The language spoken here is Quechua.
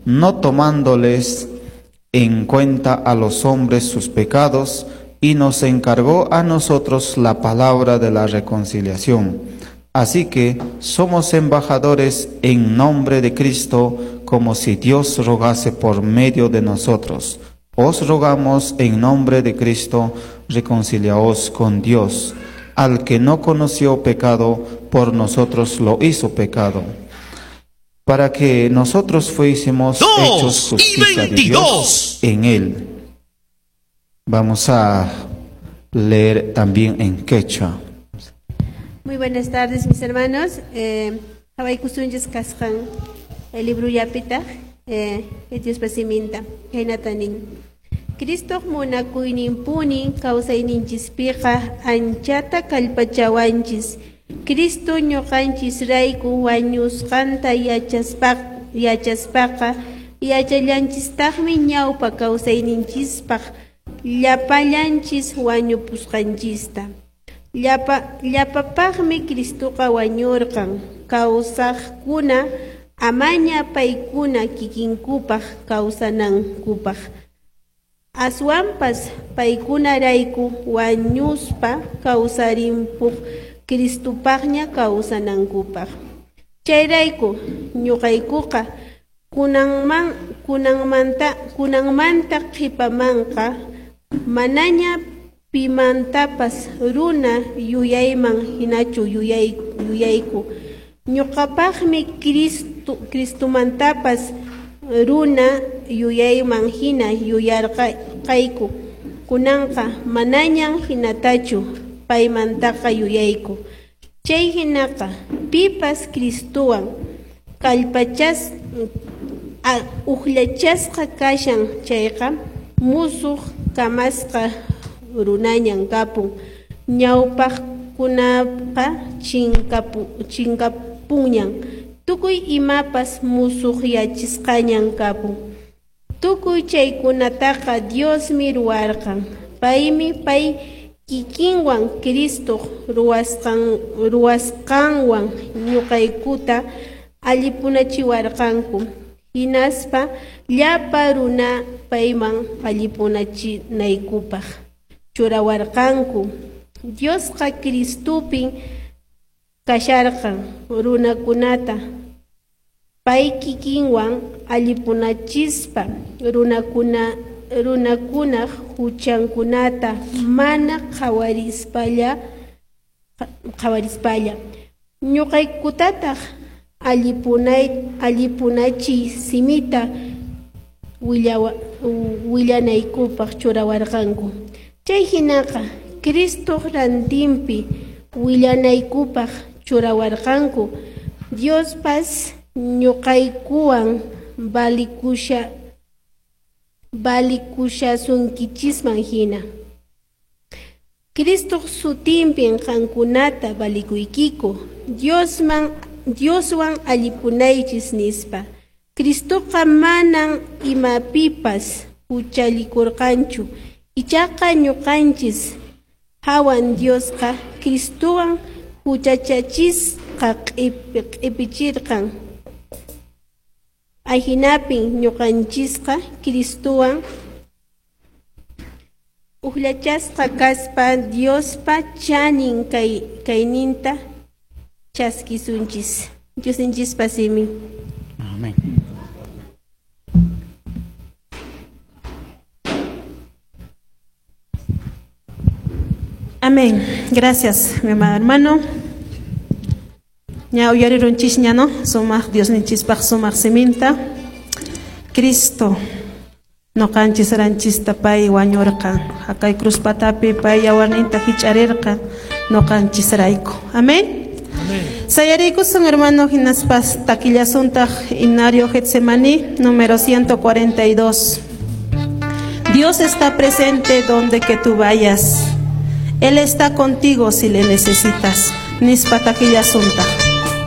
No tomándoles en cuenta a los hombres sus pecados, y nos encargó a nosotros la palabra de la reconciliación. Así que somos embajadores en nombre de Cristo, como si Dios rogase por medio de nosotros. Os rogamos en nombre de Cristo, reconciliaos con Dios. Al que no conoció pecado, por nosotros lo hizo pecado, para que nosotros fuésemos hechos 2 y justicia de Dios 22. en él. Vamos a leer también en quechua. Muy buenas tardes, mis hermanos. Qhawaykusunchis kasqan el libro yapita, Diospa siminta, khaynata nin. Cristoq munakuyninpuni kawsayninchispiqa anchata kallpachawanchis. Cristo ñuqanchisrayku wañusqanta yachaspaqa yachallanchistaqmi ñawpa kawsayninchispaq llapallanchis wañupusqanchista. Llapapaqmi Cristoqa wañurqan, kawsaqkuna amaña paykuna kikinkupaq kawsanankupaq. Aswanpas paykunarayku wañuspa kawsarimpuq Cristopaqña kawsanankupaq. Chayrayku ñuqaykuqa kunanmanta qhipamanqa manaña pimantapas runa yuyayman hinachu yuyayku. Ñuqapaqmi Cristomantapas runa yuyayman hina yuyarqayku. Kunanqa manañan hinatachu paymantaqa yuyayku. Chay hinaqa pipas Cristowan uqllachasqa kashan chayqa musuq kamasqa runañan kapun. Ñawpaqkunaqa chinkapunñan, tukuy imapas musuqyachisqañan kapun. Tukuy chaykunataqa Diosmi ruwarqan. Paymi pay kikinwan Cristoq ruwasqanwan ñuqaykuta allipunachiwarqanku. Hinaspa llapa runa payman allipunachinaykupaq churawarqanku. Diosqa Cristopin kasharqan runakunata pay kikinwan allipunachispa runakunaq huchankunata mana qhawarispalla. Ñuqaykutataq allipunachiy simita willanaykupaq churawarqanku. Chay hinaqa Cristoq rantinpi willanaykupaq churawarqanku. Diospas ñuqaykuwan valikushasunkichisman hina. Cristoq sutinpin qankunata valikuykiku, Dioswan allipunaychis nispa. Cristoqa manan imapipas huchallikurqanchu, ichaqa ñuqanchis hawan Diosqa Cristowan huchachachisqa q'ipichirqan. Ahinapin ñuqanchisqa Cristowan uqllachasqa kaspa Diospa chanin kayninta chaskisunchis. Diosninchispa simin. Amén. Amén. Gracias, mi amado hermano. Ña uyarirunchis ña, no? Sumaq Diosninchispaq sumaq siminta. Cristo noqanchis ranchista pay wañurqa. Haqay cruz patapi pay yawarninta hich'arirqa noqanchisrayku. Amén. Sayariykusun hermano hinaspas takillasuntaq himnario Getsemaní número 142. Dios está presente donde que tú vayas. Él está contigo si le necesitas. Nispa takillasunta.